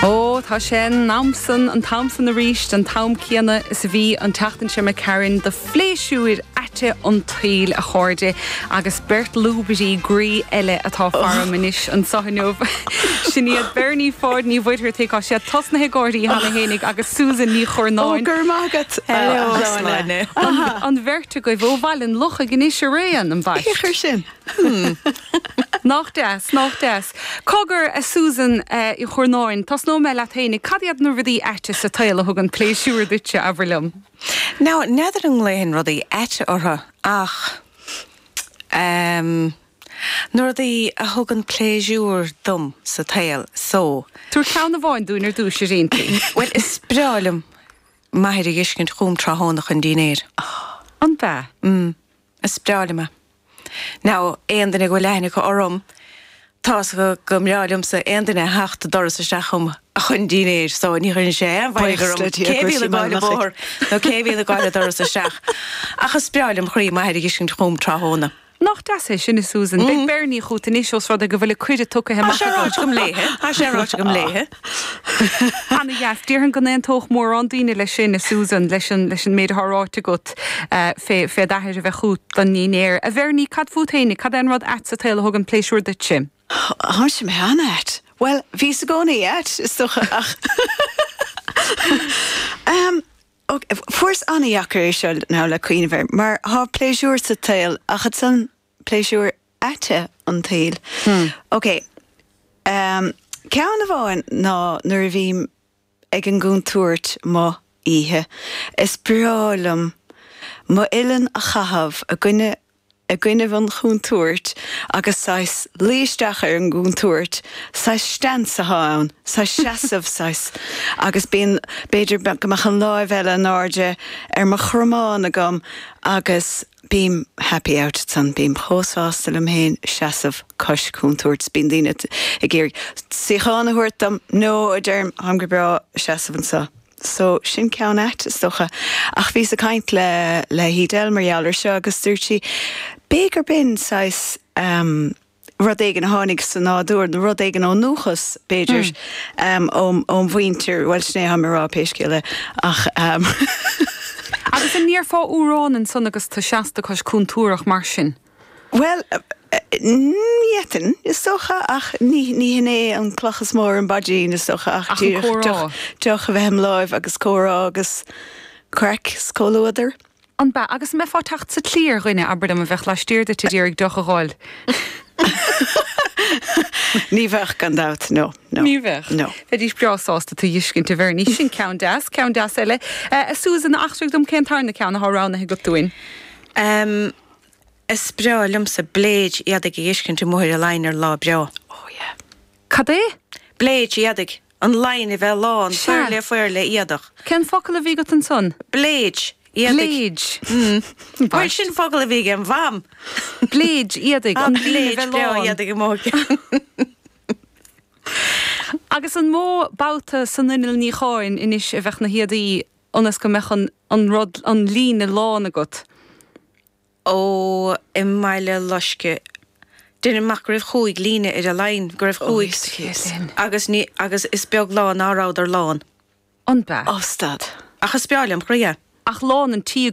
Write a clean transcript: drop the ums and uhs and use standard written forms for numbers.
Ó, tá sé an am san, an t-am san arís, an t-am céanna is a bhí an tseachtain seo imigh tharainn do phléisiúir aite an tsaoil, a chairde, agus beirt lúbairí groí eile atá faram anois anso inniu. Sin iad Bernie Pháid Ní Mhuircheartaigh, tá sé tosnaithe ag gáirí cheana fhéinig, agus Susan Ní Churnáin. Ó, go raibh maith agat, a Shláine. An bheirt agaibh ó Bhaile an Lochaigh anois araon, ambaist. Cén chaoi sin? Nach deas, nach deas. Cogar, a Susan Uí Churnáin, tosnóidh mé leat fhéinig. Cad iad na rudaí aite sa tsaol a thugann pléisiúr duitse, abair liom? Now, n'fheadar an nglaofainn rudaí aite orthu, ach ehm, na rudaí a thugann pléisiúr dom sa tsaol, so. Tabhair ceann amháin dúinn ar dtúis, ar aon Bhuel, is breá liom m'athair a dh'fheiscint chugam tráthnóna chun dinnéir. An b'ea? Mm. Is breá liom é. Now, aon duine go bhfuil aithne acu orm, tá's acu go mbreá liomsa aon duine a theacht an doras isteach chugam chun dinnéir, so ní chuireann sé aon mhairg Buíochas orm le Dia cé go bhíonn bhfuil ag gabháil an bóthar nó cé bhíonn ag gabháil an doras isteach. Ach is breá lem chroí m'athair a dh'fheiscint chugam tráthnóna. Nach deas é sin, a Susan. Beidh Bernie chút anois ós rud é go bhfuil an cuireadh tugtha Tá amach sé agat. ráite agam léithe, tá sé ráite agam léithe. Ana-dheas. Déarfainn go n-aontódh mórán daoine leis sin, a Susan, leis an, leis an méid atá ráite agat fé, fé d'athair a bheith chút don ndinnéar. A Bhernie, cad fút fhéinig? Cad é an rud ait sa tsaol a thugann pléisiúr duitse? Táimse mé an-ait. Bhuel, bhíos i gcónaí ait, is dócha, ach ehm, ok, fuaireas an-dheacair é seo now le cuimhneamh air, mar thá pléisiúr sa tsaol ach ansan pléisiúir aite an tsaoil. Ok, ehm, ceann amháin ná nuair a bhím ag an gcontúirt amuigh oíche, is breá liom m'uillinn a chaitheamh i gcoinne i gcoinnibh an chontúirt agus saghas luí isteach ar an gcontúirt, saghas stance athá ann, saghas seasamh, saghas, agus bíonn, b'fhéidir go mbeadh an láimh eile in airde ar mo chromán agam agus bím happy out ansan, bím chomh sásta liom féin seasamh cois contúirt, bíonn daoine ag iarraidh suíochán a thabhairt dom, no, a deirim, táim go breá seasamh anso. So, sin ceann ait, is dócha. Ach bhíos ag caint le, le hEdel mar gheall ar seo agus dúirt sí, b'fhéidir gurb in saghas ehm rud éigin a tháinig sa nádúr, nó rud éigin ón ndúchas, b'fhéidir, ehm óm, óm mhuintir, bhuel sin é atáim a rá pé scéal é, ach ehm. Agus an ndéarfá amhrán ansan agus tú seasta cois contúrach mar sin? Bhuel, d'fhéadfainn, is dócha, ach ní hin é an cloch is mó ar an bpaidrín, is dócha, ach díreach deoch a bheith im láimh agus comhrá agus craic is comhluadar. An b'ea? Agus an mbeifeá ag teacht sa tslí ar dhuine, abair liom, a bheadh laistiar duit ag iarraidh deoch a dh'fháil? Ní bheadh, gan dabht, no, no. Ní bheadh? No. Bheidís breá sásta tú dh'fheiscint, a Bhernie. Sin ceann deas, ceann deas eile. A Susan, eachtraigh dom cén tarna ceann athá roghnaithe agat dúinn? Is breá liomsa bléid éadaigh a dh'fheiscint amuigh ar an line ar lá breá. Oh yeah. Cad é? Bléid éadaigh. An line a bheith lán, fuirle fuirle éadach. Cén focal a bhí agat ansan? Bléid éadaigh. Bléid. Mm. Bhuel, sin focal a bhí ag an mham. Bléid éadaigh. An bléid breá éadaigh amuigh. Agus an mó babhta san inneall níocháin anois a bheadh na héadaí ionas go mbeadh an, an rud, an líne lán agat? Ó, i mBaile Loiscthe. Deinim amach go raibh chúig líne ar an line, go raibh chúig, agus ní, agus is beag lá ná rabhadar lán. An b'ea? Ó, stad. Ach is breá lem chroí é. Ach lán an tí.